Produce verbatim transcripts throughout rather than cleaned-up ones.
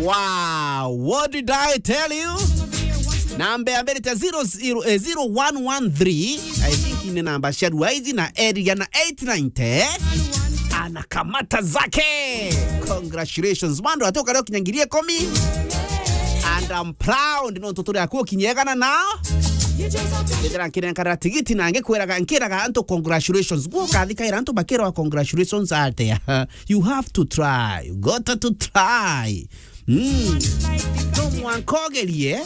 Wow, what did I tell you? Namba ya mbere ta zero zero, eh, zero one one three. I think ni namba cia Ruaizi na area na eight ninety. Anakamata zake. Congratulations. Mando atoka leo kinyangirie komi. And I'm proud no tutore akuo kinyegana nao. Ndira nkirenkara tigiti na ngikwiraga, nkiraga antu congratulations. Guo kathikaira antu bakirwa congratulations atia. You have to try. You got to try. Mm. No mwanka ugerie,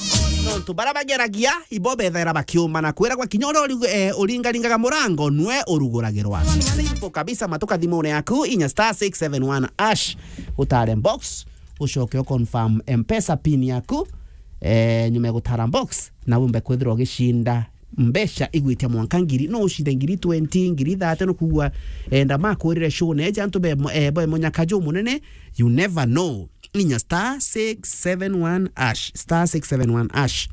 nontu bara bageragia, ibo bethaira bakiumana. Kwiragwa kinya uria uri-, eh, uringaringaga murango, nwe uruguragirwa. Simple kabisa, matuka thimune yaku, inya star six seven one hash, utare box, ucoke u confirm M-Pesa pin yaku, eh, nyuma ya gutara box, na wumbe kwithirwa ugicinda mbeca igwitia mwanka ngiri, no ucinde ngiri twenty, ngiri thirty, no kugua, eh, enda makwirire show, na eja antu be mo-, eh, be munyaka jumunene, you never know. Inya star six seven one hash, star six seven one hash.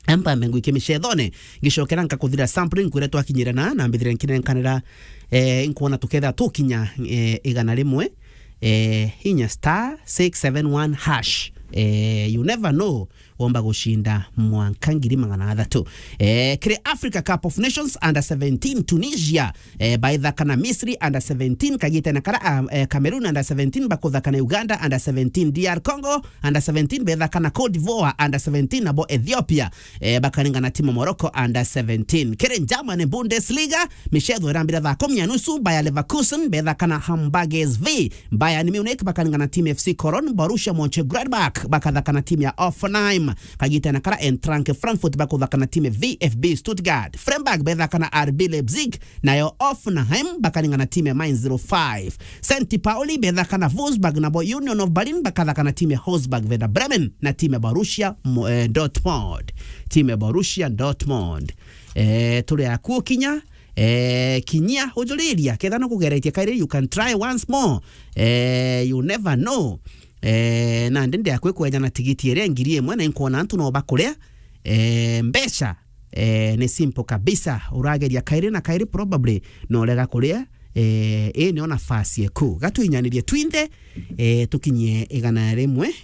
Mpambe ngwikie micethone, ngicokera nkakuthira sampling kuria twakinyire na, na mbithire nkinenkanira, eh, nkwona tuketha tukinya, eh, igana rimwe, eh, inya star six seven one hash. Eh, you never know, womba gucinda mwanka ngiri magana athatu. Eh, kiri Africa Cup of Nations under seventeen, Tunisia, eh, baithaka na Misri under seventeen, kagite na kara, ah, eh, Cameroon under seventeen, bakuthaka na Uganda under seventeen, D R Congo under seventeen, bethaka na Cote d'Ivoire under seventeen, nabo Ethiopia, eh, bakaringana timu Morocco under seventeen. Kiri Germany Bundesliga, micetho irambira thaa kumi na nusu, Bayer Leverkusen bethaka na Hamburg S V, Bayern Munich bakaringana timu F C Cologne, Borussia Mönchengladbach bakathaka na timu ya Hoffenheim, kagite na kara Eintracht Frankfurt bakuthaka na timu ya V F B Stuttgart, Freiburg bethaka na R B Leipzig, nayo Hoffenheim bakaringana timu ya Mainz zero five. Saint Pauli bethaka na Wolfsburg, nabo Union of Berlin bakathaka na timu ya Augsburg, Werder Bremen na timu ya Borussia Mo-, eh, Dortmund. Timu ya Borussia Dortmund. Eh, turi akuo kinya, eh, kinyia ujuriria, ketha no kugeretie kairi, you can try once more. Eh, you never know. Eh, nandi ndi akwi kweja na tigiti iria ngiri imwe na inkwona antu no bakuria, eh, mbeca Eh, ni simple kabisa. Urageria kairi na kairi, probably no urega kuria. Eh, ii nio nafasi eku. Gatwinyanirie twinthe, eh, tukinyie igana rimwe,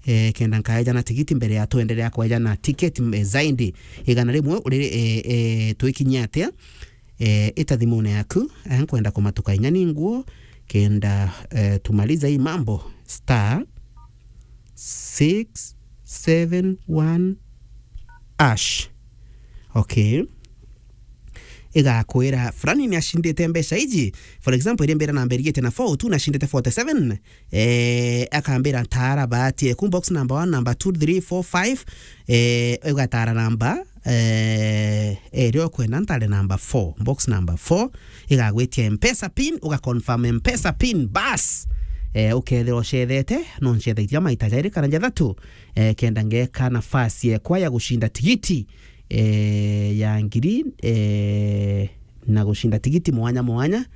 eh, kenda nkaeja na tigiti mbere ya twenderea kweja na ticket, eh, zaidi. Igana rimwe uri, eh, eh, twikinyie atia? Eh, ita thimune yaku, eh, nkwenda kumatuka inya ni nguo, kenda, eh, tumaliza hii mambo. Star six seven one hash. Okay. Igakwira fulani ni acindite mbeca iji. For example, iri mbira namba irigite na four two, na acindite forty-seven. Eh, akambira ntara bahati eku box number one, number two, three, four, five. Eh, igatara namba, eh, iria ukwenda ntare namba four, box number four. Igagwitia M-Pesa pin, uga confirm M-Pesa pin, bas. Eh, ukethira ucethete, no ncethaitia maita jairi kana jathatu, eh, kenda ngeka nafasi ekwa ya gucinda tigiti, eh, ya ngiri, eh, na gucinda tigiti mwanya mwanya,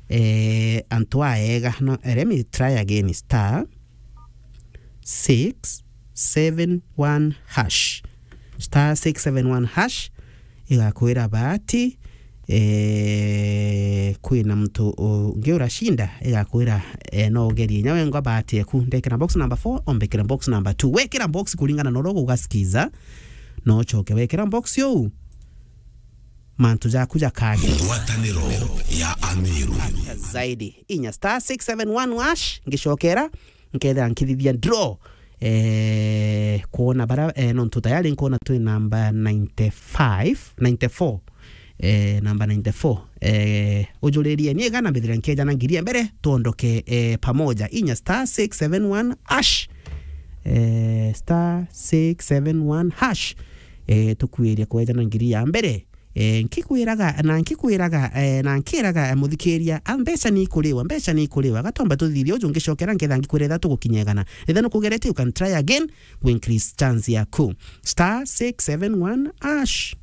eh, antu aega. No, let me try again, star six seven one hash. Star six seven one hash. Igakwira bahati, eh, kwina muntu ungi uracinda, igakwira, eh, no ugerie inya wengwa bahati eku. Ndekira box number four, ombekira box number two. Wekira box kuringana na uria ugasikiza, no ucoke wekira box uu, mantu jaku jakage. Ngwataniro ya Amiru. Zaidi. Inya star six seven one hash, ngicokera, nkethira nkithithia draw. Eh, kwona bara, eh, nontu tayari nkwona twi namba ninety-five, ninety-four. Eh, namba ninety-four. Eh, ujuririe ni igana mbithire nkeja na ngiri ya mbere, tuondoke, eh, pamoja. Inya star six seven one hash. Eh, star six seven one hash. Eh, tukwirie kweja na ngiri ya mbere. Eh, nkikwiraga, na nkikwiraga, eh, na nkiraga, eh, muthikiria, a, mbeca ni ikuriwa, mbeca ni ikuriwa. Gatomba tuthithie uju ngicokera nketha ngikwira etha tugukinya igana. Etha nukugerete, you can try again, we increase chance yaku. Star six seven one hash.